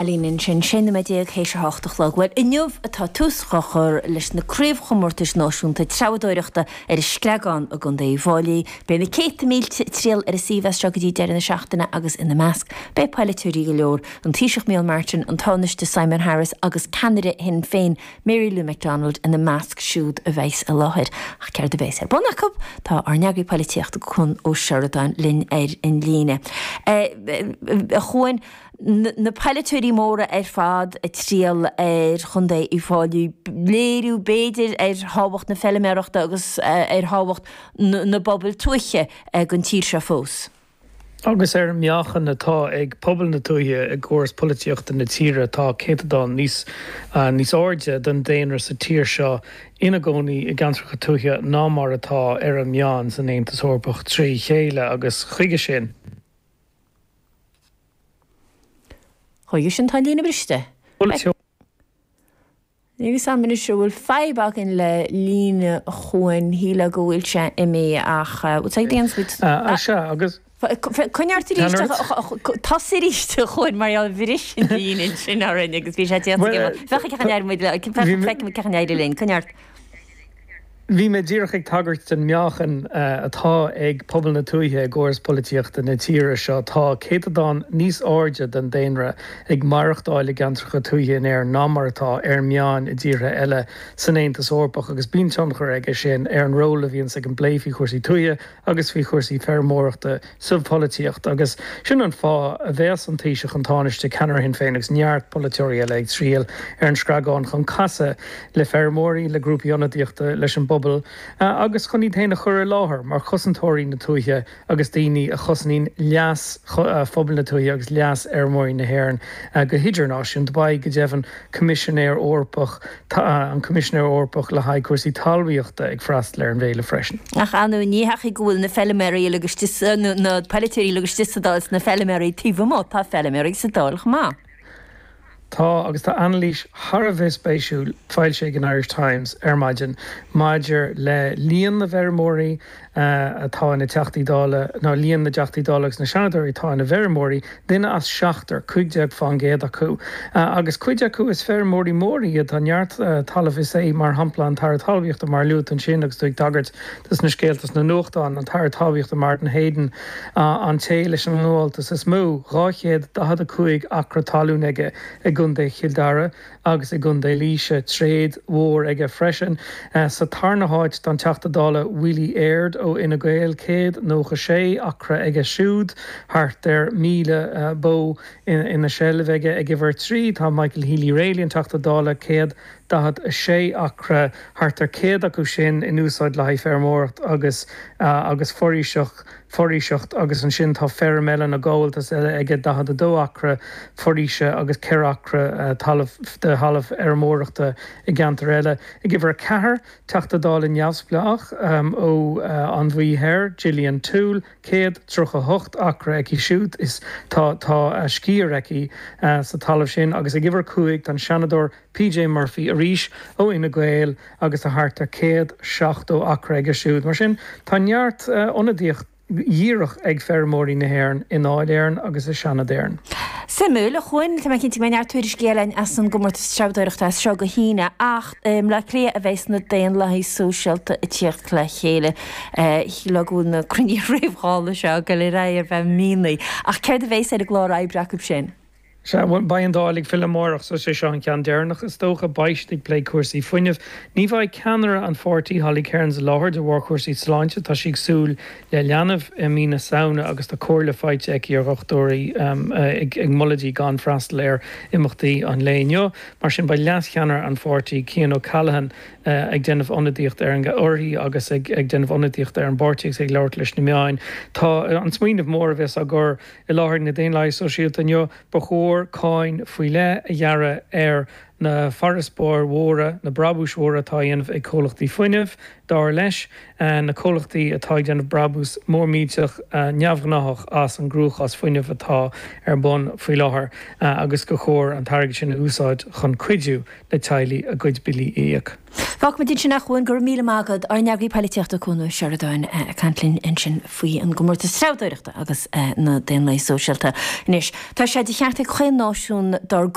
Ailín ansin, 16 nóiméad théis a hocht a chlog. Bhuel, inniu atá tús á chur leis na Craobhchomórtais Náisiúnta Treabhdóireachta ar an Screagán i gContae Uíbh Fhailí. Beidh na céadta mílte ag triall ar an suíomh as seo go dtí deireadh na seachtaine agus ina measc beidh polaiteoirí go leor, an Taoiseach Micheál Martin, an Tánaiste Simon Harris agus ceannaire Shinn Féin Mary Lou McDonald ina measc siúd a bheas i láthair. Ach céard a bheas ar bun acu? Tá ár n-eagraí polaitíochta Cuan Ó Seireadáin linn ar an líne. A Chuain, na polaiteoirí móra ar fad ag triall ar Chontae Uíbh Fhailí, léiriú b'fhéidir ar thábhacht na feilméarachta agus ar thábhacht na bpobal tuaithe don tír seo fós. Agus ar an meáchan atá ag pobal na tuaithe i gcóras polaitíochta na tíre, tá céatadán níos níos airde den daonra sa tír seo ina gcónaí i gceantracha tuaithe ná mar atá ar an meán san Aontas Eorpach trí chéile agus chuige sin. Chuige sin tá an líne briste. Níl fhios a'm anois an bhfuil fadhb againn le líne Chuain, shílfeá go bhfuil sé imithe ach bhfuil sé ag déanamh muid. Sea, agus. Coinnigh ort arís, tosaigh arís a Chuain mar gheall bhris an líne ansin orainn agus bhí sé déanta aige. Féach cén chaoi a n-éireoidh muid le, feicfidh muid cén chaoi a n-éireoidh linn, coinnigh ort. Bhí mé díreach ag tagairt don meáchan atá ag pobal na tuaithe i gcóras polaitíochta na tíre seo. Tá céatadán níos airde den daonra ag maireachtáil i gceantracha tuaithe in Éirinn ná mar atá ar an meán i dtíortha eile san Aontas Eorpach agus bíonn tionchar aige sin ar an ról a bhíonns ag an bplé faoi chúrsaí tuaithe agus faoi chúrsaí feirmeoireachta sa pholaitíocht agus sin an fáth a bheas an Taoiseach, an Tánaiste, ceannaire Shinn Féin agus neart polaiteoirí eile ag triall ar an Screagán chun casadh le feirmeoirí, le grúpaí ionadaíochta, leis an bpobal agus chun iad féin a chur i láthair mar chosantóirí na tuaithe agus daoine a chosnaíonn leas phobal na tuaithe agus leas fheirmeoirí na hÉireann go hidirnáisiúnta. Beidh, go deimhin, Coimisinéir Eorpach, an Coimisinéir Eorpach le haghaidh cúrsaí talmhaíochta ag freastal ar an bhféile freisin. Ach ar ndóigh ní heachaidh go bhfuil na feilméaraí uilig istigh sa, nó na polaiteoirí uilig istigh sa Dáil is na feilméaraí taobh amuigh, tá feilméaraí sa Dáil chomh maith. Tá, agus tá anailís thar a bheith spéisiúil foilsithe ag an Irish Times ar maidin maidir le líon na bhfeirmeoirí atá ina dTeachtaí Dála, nó líon na dTeachtaí Dála agus na Seanadóirí atá ina bhfeirmeoirí, duine as seachtar, 15% acu. Agus cuid acu is feirmeoirí móra iad, tá neart talaimh, is é mar shampla an tAire Talmhaíochta mar a luaigh tú ansin agus tú ag tagairt dos na scéalta sna nuachtáin, an tAire Talmhaíochta Martin Heydon, an té leis an ngabháltas is mó, 245 acra talún aige i gContae Chill Dara. agus i gContae Laoise, tréad mhór aige freisin. Sa tarna háit tá an Teachta Dála Willie Aird ó Fhine Gael, 196 acra aige siúd, thart ar 1,000 bó ina sheilbh aige. Ag uimhir 3 tá Michael Healy-Rae, an Teachta Dála, 146 acra, thart ar 100 acu sin in úsáid le haghaidh feirmeoireacht agus agus foraoiseacht. foraoiseacht agus ansin tá feirm eile nó gabháltas eile aige 42 acra foraoise agus 4 acra talamh de thalamh fheirmeoireachta i gceantar eile. Ag uimhir 4, Teachta Dála neamhspleách ó An Mhí Thoir, Gillian Toole, 138 acra aici siúd is tá tá sciar aici sa talamh sin agus ag uimhir 5 tá an Seanadóir PJ Murphy arís ó Fhine Gael agus tá thart ar 170 acra aige siúd. Mar sin, tá neart ionadaíocht dhíreach ag feirmeoirí na hÉireann i nDáil Éireann agus i Seanad Éireann. Suimiúil, a Chuain. Tá mé cinnte go mbeidh neart tuairiscí eile againn as an gcomórtas treabhdóireachta as seo go hAoine ach i mBleá Cliath a bheas na Daonlathaigh Sóisialta ag tíocht le chéile. Shílfeá go bhfuil na cruinnithe réamh-Dhála seo ag dul ar aghaidh ar feadh míonna. Ach céard a bheas ar an gclár oibre acu sin? Sea, bhuel, beidh an Dáil ag filleadh amárach, so is é seo an ceann deireanach, is dócha. Beidh siad ag plé cúrsaí fuinnimh. Ní bheidh ceannaire an pháirtí, Holly Cairns, i láthair de bharr chúrsaí sláinte. Tá sí ag súil le leanbh i mí na Samhna agus tá comhairle faighte aici ó dhochtúirí ag moladh di gan freastal ar imeachtaí an lae inniu. Mar sin, beidh leascheannaire an pháirtí, Cian O'Callaghan, ag déanamh ionadaíocht ar an uirthi agus ag déanamh ionadaíocht ar an bpáirtí agus ag labhairt leis na meáin. Tá an smaoineamh mór a bheas á gcur I láthair na Daonlathaithe Sóisialta inniu, ba chóir cáin faoi leith a ghearradh ar na farasbairr mhóra, na brabúis mhóra atá á dhéanamh ag comhlachtaí fuinnimh, dar leis, na comhlachtaí atá ag déanamh brabús mór millteach neamhghnáthach as an gcruachás fuinnimh atá ar bun faoi láthair agus gur chóir an t-airgead sin a úsáid chun cuidiú le teaghlaigh a gcuid billí a íoc. Fágfaimid ansin é a Chuain, go raibh míle maith agat. Ár n-eagraí poilitíochta Cuan Ó Seireadáin ag caint linn ansin faoi an gcomórtas treabhdóireachta agus na Daonlathaithe Sóisialta. Anois, tá sé de cheart ag chaon náisiún dár.